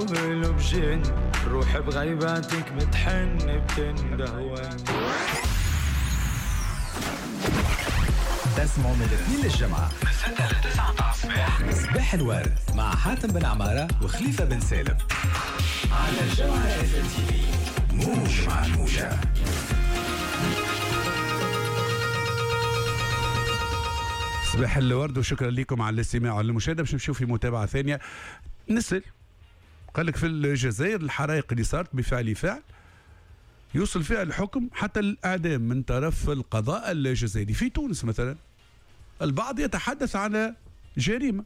قلوب جن، روح بغيباتك بتحن بتنده وين. تسمعوا من الاثنين للجمعة من 6 ل 9 متاع الصباح، صباح الورد مع حاتم بن عمارة وخليفة بن سالم على جوهرة اف ام تي في، موج مع الموجة. صباح الورد وشكرا لكم على الاستماع والمشاهدة. باش نمشيو في متابعة ثانية. نسأل، قال لك في الجزائر الحرائق اللي صارت بفعل فاعل يوصل فيها الحكم حتى الإعدام من طرف القضاء الجزائري. في تونس مثلا البعض يتحدث على جريمة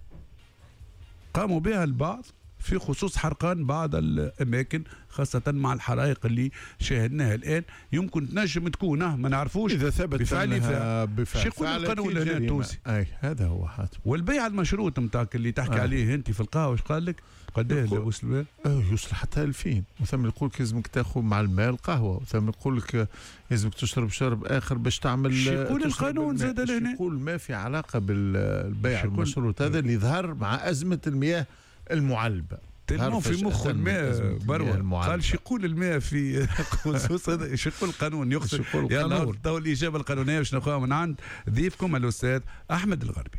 قاموا بها البعض في خصوص حرقان بعض الأماكن، خاصة مع الحرائق اللي شاهدناها الآن. يمكن تنجم تكون ما نعرفوش إذا ثبت بفعل فاعل. بفعل شو يقول القانون هنا التونسي؟ أي هذا هو حاتم. والبيع المشروط نتاعك اللي تحكي عليه أنت في القهوة، اش قال لك؟ قداه اللي وصل؟ يوصل حتى 2000. وثم يقول لك لازمك تاخذ مع الماء القهوة، وثم يقول لك لازمك تشرب شرب آخر باش تعمل. شو يقول القانون زاد لهنا؟ يقول ما في علاقة بالبيع المشروط هذا اللي ظهر مع أزمة المياه المعلبة. تلمو في مخ الماء بروة. قال شو يقول الماء في خصوص هذا؟ شو يقول القانون؟ يقصد يلا تو الإجابة القانونية باش ناخذها من عند ضيفكم الأستاذ أحمد الغربي.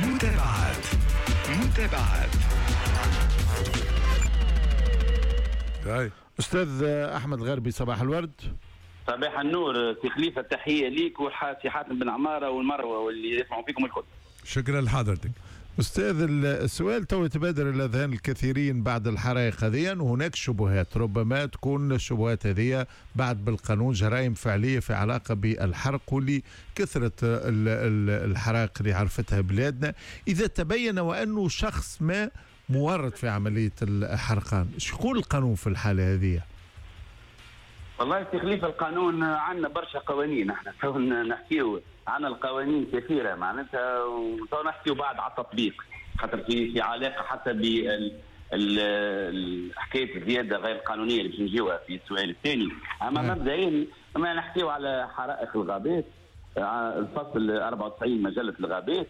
متابعات متابعات. أستاذ أحمد الغربي صباح الورد. صباح النور سي خليفة، تحية ليك وسي حاتم بن عمارة والمروة واللي يسمعوا فيكم الكل. شكرا لحضرتك. أستاذ، السؤال تو يتبادر إلى ذهن الكثيرين بعد الحرائق هذه، وهناك شبهات، ربما تكون الشبهات هذه بعد بالقانون جرائم فعلية في علاقة بالحرق، واللي كثرة الحرائق اللي عرفتها بلادنا. إذا تبين وأنه شخص ما مورط في عملية الحرقان، شو يقول القانون في الحالة هذه؟ والله سي خليفة، القانون عندنا برشا قوانين، احنا تو نحكيو عن القوانين كثيرة معناتها، وتو نحكيو بعد على التطبيق، خاطر في علاقة حتى حكاية الزيادة غير القانونية اللي باش نجيوها في السؤال الثاني. اما مبدئيا ما نحكيو على حرائق الغابات، الفصل 94 مجلة الغابات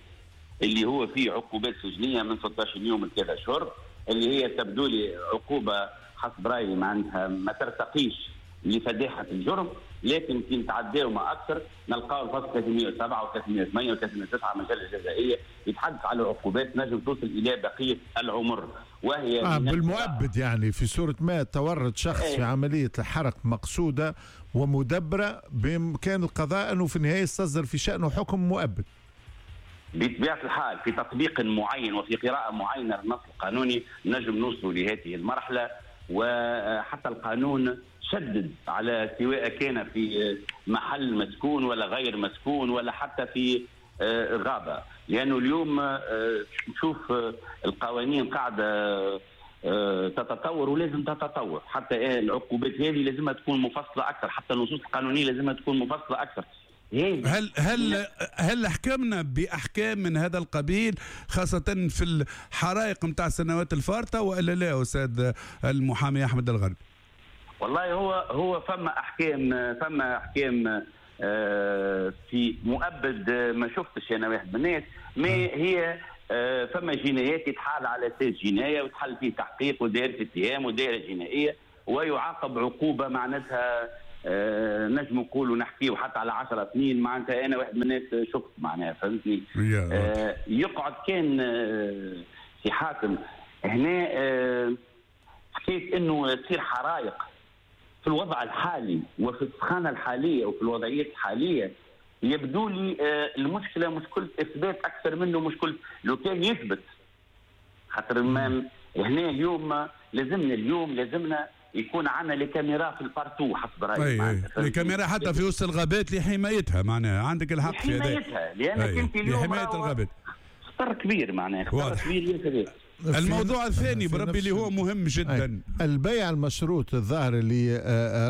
اللي هو فيه عقوبات سجنية من 16 يوم لثلاث أشهر، اللي هي تبدو لي عقوبة حسب رأيي معناتها ما ترتقيش لفداحة الجرم، لكن كي نتعداو ما أكثر نلقاو الفصل 307 و308 و309 مجلة الجزائية يتحدث على عقوبات نجم توصل إلى بقية العمر، وهي بالمؤبد. يعني في صورة ما تورط شخص في عملية الحرق مقصودة ومدبرة، بإمكان القضاء أنه في النهاية يستصدر في شأنه حكم مؤبد. بطبيعة الحال في تطبيق معين وفي قراءة معينة للنص القانوني نجم نوصل لهذه المرحلة. وحتى القانون شدد على سواء كان في محل مسكون ولا غير مسكون ولا حتى في غابة، لأنه اليوم نشوف القوانين قاعدة تتطور ولازم تتطور، حتى العقوبات هذه لازم تكون مفصلة أكثر، حتى النصوص القانونية لازم تكون مفصلة أكثر. هل حكمنا بأحكام من هذا القبيل خاصة في الحرائق متاع السنوات الفارطة وإلا لا أستاذ المحامي أحمد الغربي؟ والله هو فما أحكام في مؤبد ما شفتش أنا واحد من الناس، ما هي فما جنايات يتحال على أساس جناية وتحل فيه تحقيق ودائرة اتهام ودائرة جنائية ويعاقب عقوبة معناتها نجم نقولوا نحكيو حتى على 10 سنين معناتها. أنا واحد من الناس شفت معناها، فهمتني؟ يقعد كان في حاتم هنا حكيت إنه تصير حرائق في الوضع الحالي وفي السخانة الحالية وفي الوضعية الحالية، يبدو لي المشكلة مشكلة إثبات أكثر منه مشكلة لو كان يثبت، خاطر هنا اليوم لازمنا يكون عندنا les caméras في ال partout حسب رايي. les caméras حتى في وسط الغابات لحمايتها، معناها عندك الحق في هذا، لحمايتها، لانك انت اليوم لحماية الغابات خطر كبير، معناها خطر كبير ياسر. الموضوع الثاني بربي اللي هو مهم جدا، البيع المشروط الظاهر اللي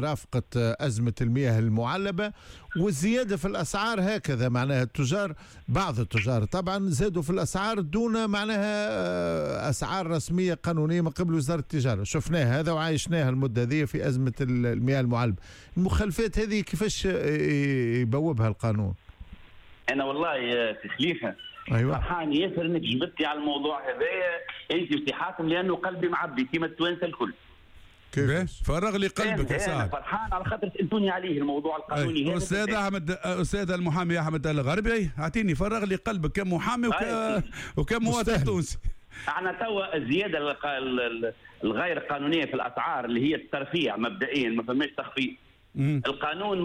رافقت أزمة المياه المعلبة والزيادة في الأسعار هكذا، معناها التجار، بعض التجار طبعا زادوا في الأسعار دون معناها أسعار رسمية قانونية من قبل وزارة التجارة. شفناها هذا وعايشناها المدة هذه في أزمة المياه المعلبة. المخالفات هذه كيفاش يبوبها القانون؟ انا والله في خليفة ايوه فرحان ياسر انك جبتني على الموضوع هذايا انت وسي حاتم، لانه قلبي معبي كيما التوانسة الكل. كيف فرغ لي قلبك يا سعد. فرحان على خاطر سالتوني عليه الموضوع القانوني هذا. استاذ احمد، استاذ المحامي احمد الغربي، اعطيني فرغ لي قلبك كمحامي وكمواطن تونسي. احنا توا الزيادة الغير قانونية في الاسعار اللي هي الترفيع مبدئيا، ما فماش تخفيض. القانون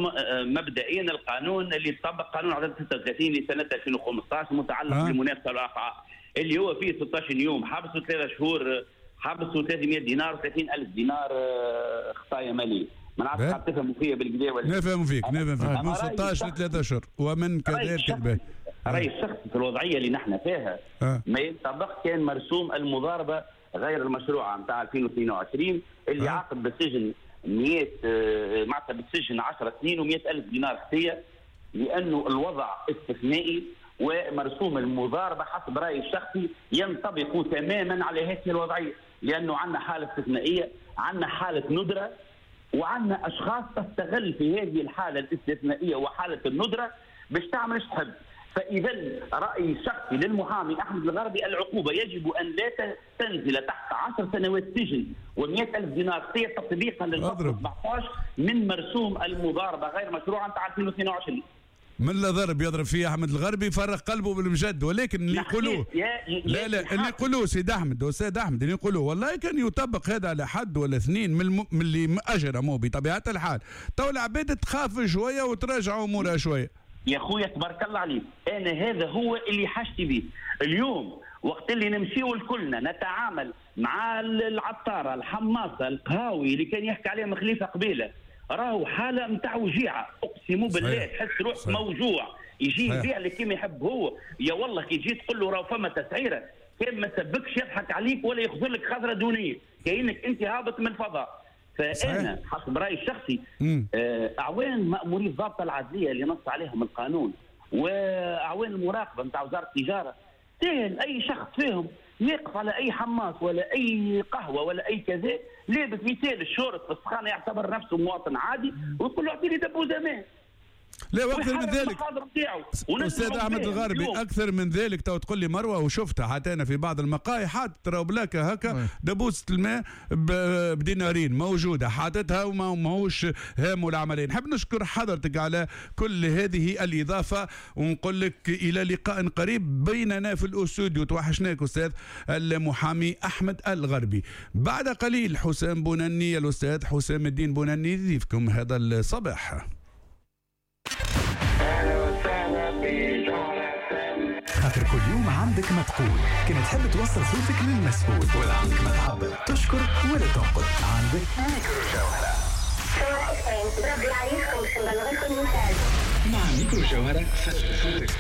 مبدئيا، القانون اللي طبق قانون عدد 36 لسنه 2015 متعلق بالمنافسه والاسعار، اللي هو فيه 16 يوم حبس وثلاث شهور حبس و300 دينار و30 ألف دينار خطايا ماليه. ما نعرفش قاعد تفهموا فيا بالكدا ولا؟ نفهم فيك، نفهم فيك. من 16 ل 3 اشهر ومن كذا. رايي الشخصي في الوضعية اللي نحن فيها ما ينطبق كان مرسوم المضاربة غير المشروعة نتاع 2022 اللي عاقب بالسجن 100 معناتها بالسجن 10 سنين و100 ألف دينار خطيه، لانه الوضع استثنائي، ومرسوم المضاربة حسب رايي الشخصي ينطبق تماما على هذه الوضعية، لانه عندنا حاله استثنائية، عندنا حاله ندره، وعندنا اشخاص تستغل في هذه الحالة الاستثنائية وحاله الندرة باش تعمل ايش تحب. فاذا رايي الشخصي للمحامي احمد الغربي، العقوبة يجب ان لا تنزل تحت 10 سنوات سجن و100 ألف دينار خطيه تطبيقا للفصل 17 من مرسوم المضاربة غير مشروعه نتاع 2022. من لا ضرب يضرب فيه احمد الغربي فرق قلبه بالمجد، ولكن اللي يقولوه لا لا اللي يقولوه سيد احمد استاذ احمد، اللي يقولوه والله كان يطبق هذا على حد ولا اثنين من اللي اجرموا بطبيعة الحال، تو العباد تخاف شوية وتراجع امورها شوية. يا خويا تبارك الله عليك، انا هذا هو اللي حاجتي به اليوم. وقت اللي نمشيو الكلنا نتعامل مع العطاره، الحماصه، القهاوي اللي كان يحكي عليهم خليفة قبيلة، راهو حاله نتاع وجيعه، اقسم بالله تحس روحك موجوع. يجي يبيع لك كيما يحب هو، يا والله كي تجي تقول له راهو فما تسعيره، كان ما سبكش يضحك عليك ولا يخزر لك خزره دونية، كانك انت هابط من الفضاء. فانا حسب رايي الشخصي اعوان ماموري الضابطه العدليه اللي نص عليهم القانون واعوان المراقبة نتاع وزارة التجارة، سهل اي شخص فيهم يقف على اي حماص ولا اي قهوة ولا اي كذا لابس مثال الشورت في السخانه، يعتبر نفسه مواطن عادي، ويقول له اعطيني دبوزه ماء. لا، واكثر من ذلك استاذ احمد الغربي، اكثر من ذلك تو تقول لي مروه، وشفتها حتى انا في بعض المقاهي حاطط راهو بلاكه هكا دبوسه الماء بدينارين موجودة حاطتها وماهوش هام العملية. نحب نشكر حضرتك على كل هذه الاضافة ونقول لك الى لقاء قريب بيننا في الاستوديو. توحشناك استاذ المحامي احمد الغربي. بعد قليل حسام بونني، الاستاذ حسام الدين بونني يضيفكم هذا الصباح. خاطر كل يوم عندك ما تقول، كان تحب توصل صوتك للمسؤول، ولا عندك ما تعبر، تشكر ولا تنقد، عندك ميكرو جوهرة. مع ميكرو جوهرة فجر صوتك.